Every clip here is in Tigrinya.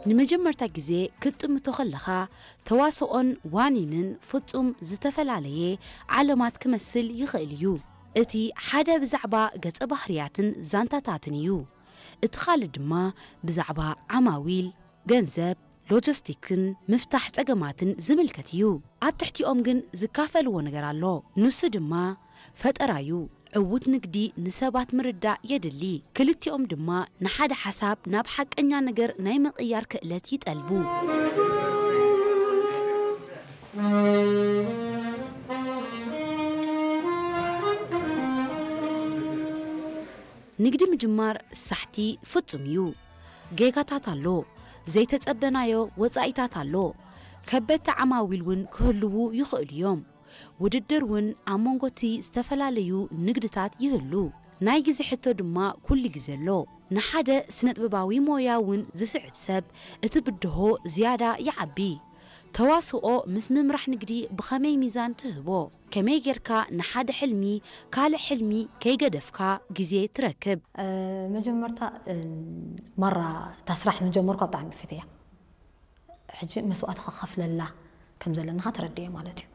ንመጀመርታ ግዜ ክትጥምቶ ከለኻ፣ ተዋስኦን ዋኒንን ፍጹም ዝተፈላለየ ዓለማት ክመስል ይኽእል እዩ። እቲ ሓደ ብዛዕባ ገጸ ባህርያትን ዛንታታትን እዩ። እቲ ካልእ ድማ ብዛዕባ ዓማዊል፣ ገንዘብ፣ ሎጂስቲክስን ምፍታሕ ጸገማትን ዝምልከት እዩ። ኣብ ትሕቲኦም ግን ዝካፈልዎ ነገር ኣሎ። ንሱ ድማ ፈጠራ እዩ። ዕዉት ንግዲ ንሰባት ምርዳእ የድሊ። ክልቲኦም ድማ ንሓደ ሓሳብ ናብ ሓቀኛ ነገር ናይ ምቕያር ክእለት ይጠልቡ። ንግዲ ምጅማር ሳሕቲ ፍጹም እዩ። ጌጋታት ኣሎ፣ ዘይተጸበናዮ ወጻኢታት ኣሎ። ከበድቲ ዓማዊል እውን ክህልዉ ይኽእሉ እዮም። ውድድር እውን ኣብ መንጎ እቲ ዝተፈላለዩ ንግድታት ይህሉ። ናይ ግዜ ሕቶ ድማ ኩሉ ግዜ ኣሎ። ንሓደ ስነጥበባዊ ሞያ እውን ዝስዕብ ሰብ እቲ ብድሆ ዝያዳ ይዓቢ። ተዋስኦ ምስ ምምራሕ ንግዲ ብኸመይ ሚዛን ትህቦ? ከመይ ጌርካ ንሓደ ሕልሚ ካልእ ሕልሚ ከይገደፍካ ግዜ ትረክብ? መጀመርታ ማራ እታ ስራሕ ምስ ጀመርኳ ብጣዕሚ ፈትያ። ሕጂ መስዋእቲ ክኸፍለላ ከም ዘለንኻ ተረድኤ ማለት እዩ።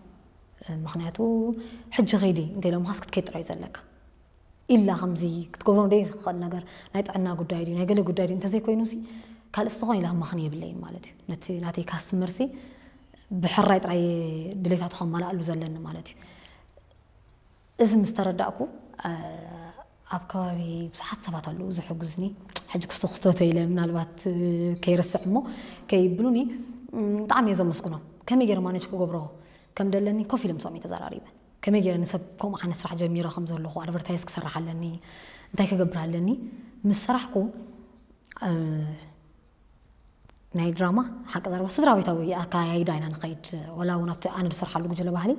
ምኽንያቱ ሕጂ ኸይዲ እንተኢሎምኻስ ክትከይድ ጥራይ ዘለካ። ኢላ ከምዚ ክትገብሮ ዘይትኽእል ነገር ናይ ጥዕና ጉዳይ ድዩ ናይ ገለ ጉዳይ ድዩ እንተዘይኮይኑሲ ካልእ ዝኾነ ኢላ ክመኽን የብለይን ማለት እዩ። ነቲ ናተይ ካስትመርሲ ብሕራይ ጥራይ ድሌታቱ ከማልኣሉ ዘለኒ ማለት እዩ። እዚ ምስ ተረዳእኩ ኣብ ከባቢ ብዙሓት ሰባት ኣለዉ ዝሕጉዝኒ። ሕጂ ክስቶ ክስቶ ተይለ ምናልባት ከይርስዕ እሞ ከይብሉኒ ብጣዕሚ እየ ዘመስግኖም። ከመይ ገይረ ማነጅ ክገብሮ ከም ደለኒ ኮፍ ኢለ ምስኦም እየ ተዘራሪበ። ከመይ ገይረ ንሰብ ከምኡ ዓይነት ስራሕ ጀሚረ ከም ዘለኹ ኣድቨርታይዝ ክሰርሕ ኣለኒ እንታይ ክገብር ኣለኒ ምስ ሰራሕኩ ናይ ድራማ ሓቂ ዘረባ ስድራ ቤታዊ ኣካያይዳ ኢና ንኸይድ። ወላ እውን ኣብቲ ኣነ ዝሰርሓሉ ጉጅለ ባህሊ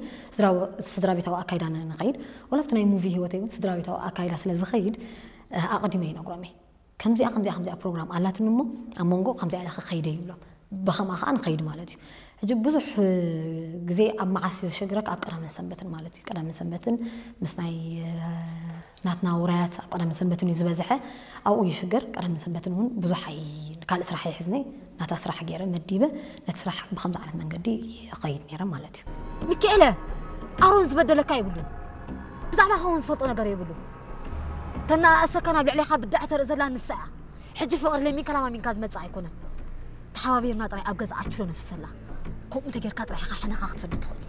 ስድራ ቤታዊ ኣካይዳ ንኸይድ። ወላ ኣብቲ ናይ ሙቪ ህይወተይ እውን ስድራ ቤታዊ ኣካይዳ ስለ ዝኸይድ ኣቐዲመ ይነግሮም እየ። ከምዚኣ ከምዚኣ ከምዚኣ ፕሮግራም ኣላትኒ እሞ ኣብ መንጎ ከምዚኣ ኢለ ክኸይደ ይብሎም። ብኸምኣ ከዓ ንኸይድ ማለት እዩ። ሕጂ ብዙሕ ግዜ ኣብ መዓስ እዩ ዝሸግረካ? ኣብ ቀዳምን ሰንበትን ማለት እዩ። ቀዳምን ሰንበትን ምስ ናይ ናትና ውራያት ኣብ ቀዳምን ሰንበትን እዩ ዝበዝሐ። ኣብኡ ይሽገር። ቀዳምን ሰንበትን እውን ብዙሕ ኣይ ካልእ ስራሕ ኣይሕዝነይ ናታ ስራሕ ገይረ መዲበ ነቲ ስራሕ ብከምዚ ዓይነት መንገዲ ይኸይድ ነይረ ማለት እዩ። ሚካኤለ፣ ኣሮን ዝበደለካ የብሉን። ብዛዕባ ኣሮን ዝፈልጦ ነገር የብሉ። ተናእሰካ ናብ ልዕሌኻ ብዳዕ ተርኢ ዘላ ንሳ እያ። ሕጂ ፍቕሪ ለሚንካ ለማሚንካ ዝመጽእ ኣይኮነን። ተሓባቢርና ጥራይ ኣብ ገዛ ኣችሎ ነፍሰላ። ከምኡ እንተጌርካ ጥራይ ኢኻ ሕነኻ ክትፈዲ ትኽእል።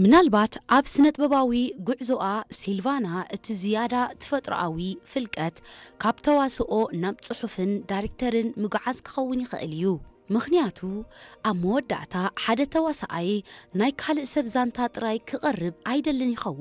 ምናልባት ኣብ ስነጥበባዊ ጉዕዞኣ ሲልቫና እቲ ዝያዳ ተፈጥሮኣዊ ፍልቀት ካብ ተዋስኦ ናብ ጽሑፍን ዳይሬክተርን ምጉዓዝ ክኸውን ይኽእል እዩ። ምኽንያቱ ኣብ መወዳእታ ሓደ ተዋሳኣይ ናይ ካልእ ሰብ ዛንታ ጥራይ ክቐርብ ኣይደልን ይኸውን።